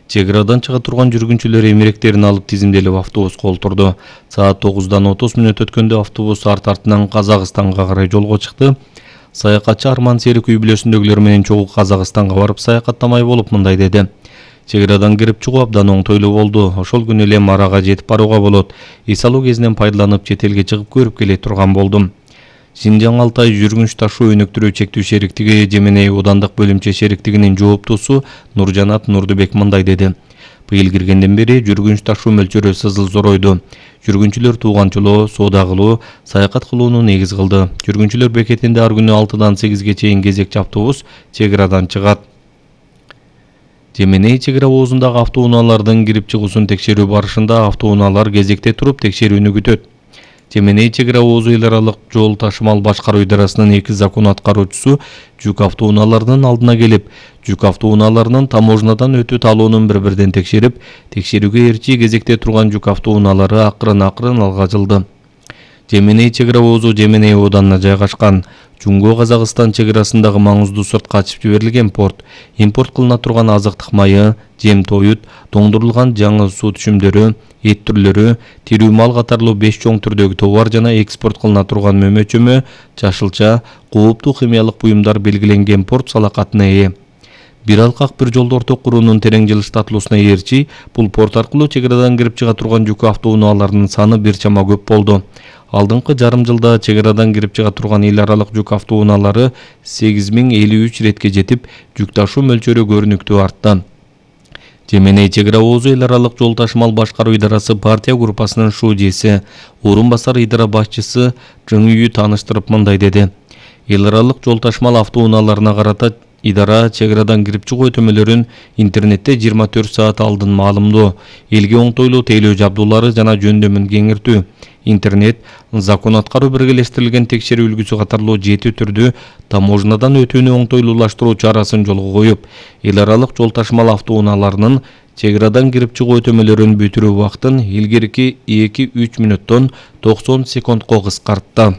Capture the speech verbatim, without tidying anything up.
Чек арадан чыга турган жүргүнчүлөр эмеректерин алып тизимделип автобуска олтурду. Саат тогуздан отуз мүнөт өткөндө автобус арт артынан Казакстанга карай жолго чыкты. Саякатчы Арман Серик үй бүлөсүндөгүлөр менен чогуу Казакстанга барып саякаттамай болуп мындай деди. Чек арадан кирип чыгуу абдан оңтойлуу болду. Ошол күнү эле Марага жетип барууга болот. Эс алуу кезинен пайдаланып чет элге чыгып көрүп келе турган болдум. Синжаң Алтай жүргүнч ташуу өнүктүрүү чектүү шериктиги Жеменей Оодандык бөлүмчө шериктигинин жооптуусу Нуржанат Нурдубек мындай деди. Быйыл киргенден бери жүргүнч ташуу мөлчөрү сызыл зоройду. Жүргүнчүлөр тууганчылоо, соода кылуу, саякат кылууну негиз кылды. Жүргүнчүлөр бекетинде ар күнү алтыдан сегизге чейин кезекчи автобус чек арадан чыгат. Жеменей чек ара оозундагы автоунаалардын кирип чыгуусун текшерүү барышында автоунаалар кезекте туруп текшерүүнү күтөт. Жеменей чек ара оозу эл аралык жол ташымал башкаруу идарасынын эки закон аткаруучусу жүк автоунааларынын алдына келип, жүк автоунааларынын таможнядан өтүп алуунун бири-бирден текшерип, текшерүүгө эрчи кезекте турган жүк автоунаалары акырын-акырын алга жылды. Жеменей чек ара оозу Жеменей ооданына жайгашкан. Жунго Казакстан чек арасындагы маңыздуу сыртка ачып жиберилген порт. Импорт кылына турган азыктык майы, жем-тоют, тоңдурулган жаңы суу түшүмдөрү, эт түрлөрү, тирүү мал катарлуу беш чоң түрдөгү товар жана экспорт кылына турган мөмө-чөмө, жашылча, кооптуу химиялык буюмдар белгиленген порт салакатына ээ. Бир алкак бир жолду орток куруунун терең жылыштатылуусуна ээрчи, бул порт аркылуу чек арадан кирип чыга турган жүк автоунааларынын саны бир чама көп болду. Алдыңкы жарым жылда чек арадан кирип чыга турган эл аралык жүк автоунаалары сегиз миң элүү үч ретке жетип, жүк ташуу мөлчөрү көрүнүктүү артты. Жеменей чек ара оозу эл аралык жол ташымал башкаруу идарасы партия группасынын шуудиеси, орун басар идара башчысы Жыңүйү тааныштырып мындай деди. Эл аралык жол ташымал автоунааларына карата идара чек арадан кирип чыгуу өтөмөлөрүн интернетте жыйырма төрт саат алдын маалымдоо, элге оңтойлуу тейлөө жабдуулары жана жөндөмүн кеңиртүү, интернет, закон аткаруу биргелештирилген текшерүү үлгүсү катарлуу жети түрдүү таможнядан өтүүнү оңтойлуулаштыруу чарасын жолго коюп, эл аралык жол ташымал автоунааларынын чек арадан кирип чыгуу өтөмөлөрүн бүтүрүү убактын илгерки эки үч мүнөттөн токсон секундко кыскартты.